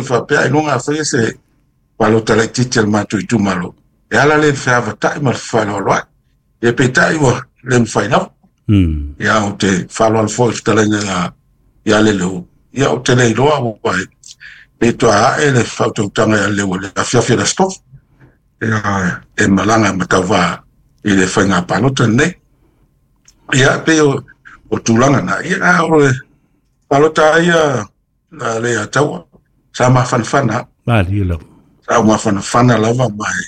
faapea ailoga a faia se palota laitiiti a le matou itumalo e ala lea i le feavatai ma le fefaaaloaloai. Ia peitai ua le mafai lava. Ia ou te faaaloalo foi i le fetalaiga ia Leleua. Ia ou te le iloa ua pe toa ae le faautautaga ia Leleua i le afiafi o le Aso Tofi. Ia e malaga ma tauvā i le faiga palota lenei. Ia pei o tulaga na. Ia o le palota ia le ia taua sa mafanafana. Malie lava. Sa mafanafana lava mai.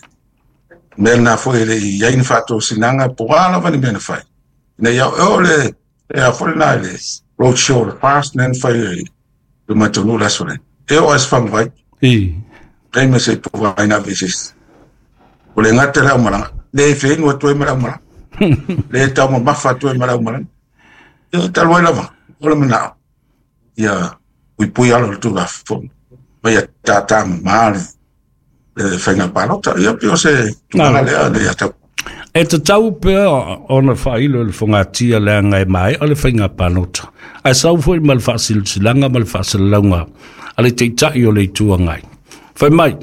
Mea na foi le i ai ni faatosinaga po o a lava ni mea na fai. Ina ia o le e a foi na le road show le fast na fai ai le matou nuu le aso lea. E o as faguvai. Ai ma se puvai na veses. O le gata le aumalaga. Le feinu atu ai ma le aumalaga. Le taumamafa atu ai ma le aumalaga. Ia talu ai lava. O le manao. Ia puipui ala o le Tulafono. Ma ia tātā mamā le faiga palota. Ia pei o se tulaga lea le atau. E tatau pea ona faailo i le fogatia leaga e maea le faiga palota. Ae sau foi ma le faasilasilaga ma le faasalalauga a le Taitai o le Itu Agai. Fai mai,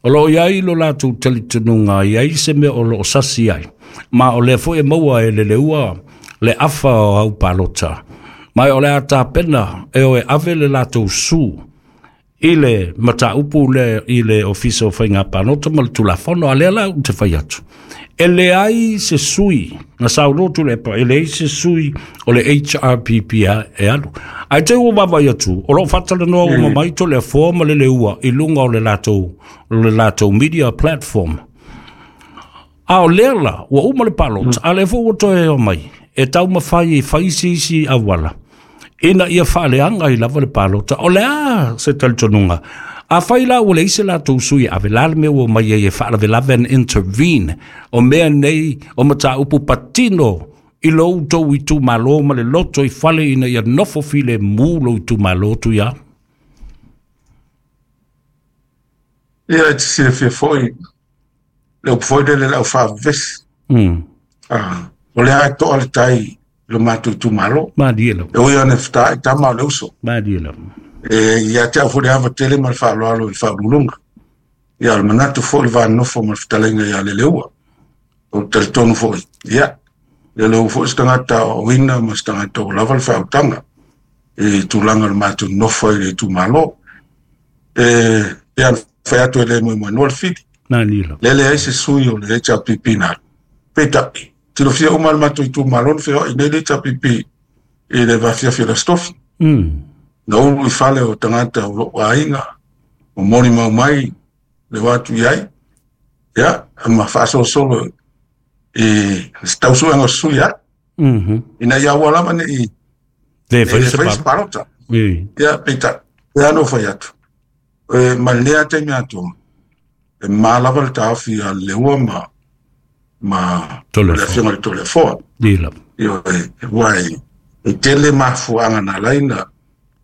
o loo i ai lo latou talitonuga i ai se mea o loo sasi ai, ma o lea foi e maua e Leleua le afa o au palota. Ma o le a tapena e o e ave le latou su i le mataupu le i le ofisa o faiga palota ma le Tulafono. A lea la ou te fai atu, e leai se sui na saunoa Tuilaepa, e leai se sui o le HRPP e alu. Ae te ua vaavaai atu o loo faatalanoa uma mai Toleafoa ma Leleua i luga o le latou media platform. A o lea la ua uma le palota, a lea foi ua toe omai e taumafai e fai se isi auala ina ia faaleaga ai lava le palota. O le a se talitonuga? A fai la ua leai se latou sui e ave, la le mea ua mai ai e faalavelave and intervene o mea nei o mataupu patino i lo outou itumalo ma le loto i fale ina ia nofo filemu lou itumalo, Tuia? Ia e te silafia foi le upu foi lele le au faavavesi. Ah, o lea e toa le tai i lo matou itumalo. Malie lava. E ui ona e fetaai tama o le uso. Malie lava. E ia te au foi le ava tele ma le faaaloalo i le faauluuluga. Ia o le manatu foi le va nofo ma le fetalaiga ia Leleua. O le talitonu foi. Ia, Leleua foi se tagata o ina ma se tagata o lava le faautaga i tulaga o le matou nofo i le itumalo. E pei ona fai atu e le moemoenoa le fili. Malie lava. Le leai se sui o le HRPP na. Peitai, tilofia uma le matou itumalo na feoai nei le HRPP i le vaafiafi o le Aso Tofi. Na ulu i fale o tagata o lou aiga, o molimau mai le o atu i ai. Ia, ma faasolosolo i se tausuega o sui ai. Ina ia aua lava nei Le fai le se fai se palota. Palota. Ia, peitai, e ano fai atu. E, ma lea taimi atoa, e ma lava le taofi a Leua ma Toleafoa. le afioga i le Toleafoa. Ie lava. Ioe, ua e tele mafuaaga na ala ai na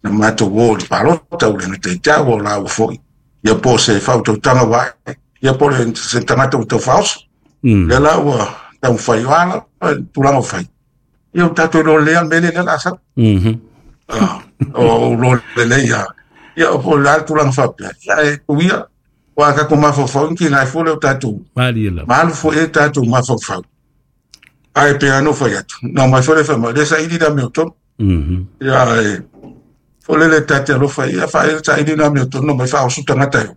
matou o i le palota ua le gata i te au o laua foi. Ia po o se faautautaga ua ae, ia po o le se tagata ua taufaaoso. Lea la ua taumafai o ala tulaga ua fai. Ia o tatou iloa lelei lava le mea lea o le a sau. Ah, o lo lelei ia. Ia o po o le a le tulaga faapea. Ia e tuia, ua tatou mafaufau ni tiga ai foi lea o tatou. Malie lava. Ma alu foi e tatou mafaufau. Ae pei lava ona ou fai atu, na omai foi le fai mai, le saili le amiotonu. Ia e, foi lele ta te alofa ia saili le amiotonu na omai faaoso tagata e o.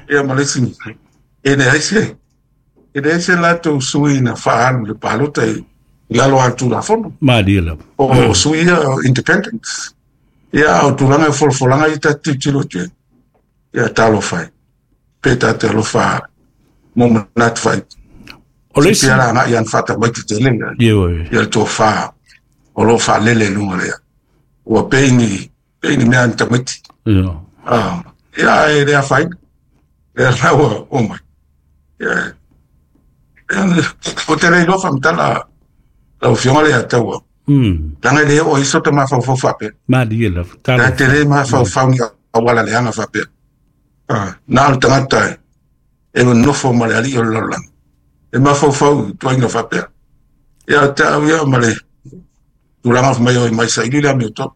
Ia ma le isi, e leai se latou sui na faaalu i le palota i lalo o le Tulafono. Malie lava. O sui ia o independents. Ia o tulaga e folafolaga ia ta te tilotilo atu ai. Ia talofa e. Pe ta te alofa mo manatu fai. O le isi Pia la agai ana faatamaiti tele ia. Ioe. Ia le tofa o lo o faalele i luga lea. Ua pei ni mea ni tamaiti. Ah, ia e le afaina. Lea la ua o mai. Ia, ia, o te le iloa faamatala lau afioga le ataua. Leaga e le oo ai so ta mafaufau faapea. Malie lava. Ta Talofa. te le mafaufau ni auala leaga faapea. Ah, na o le tagata e nofo ma le alii o le lalolagi. E mafaufau i tuaiga faapea. Ia te au ia ma le tulaga mai o mai saili le amiotonu.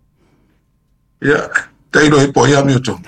Ia, tailo e po ia amiotonu.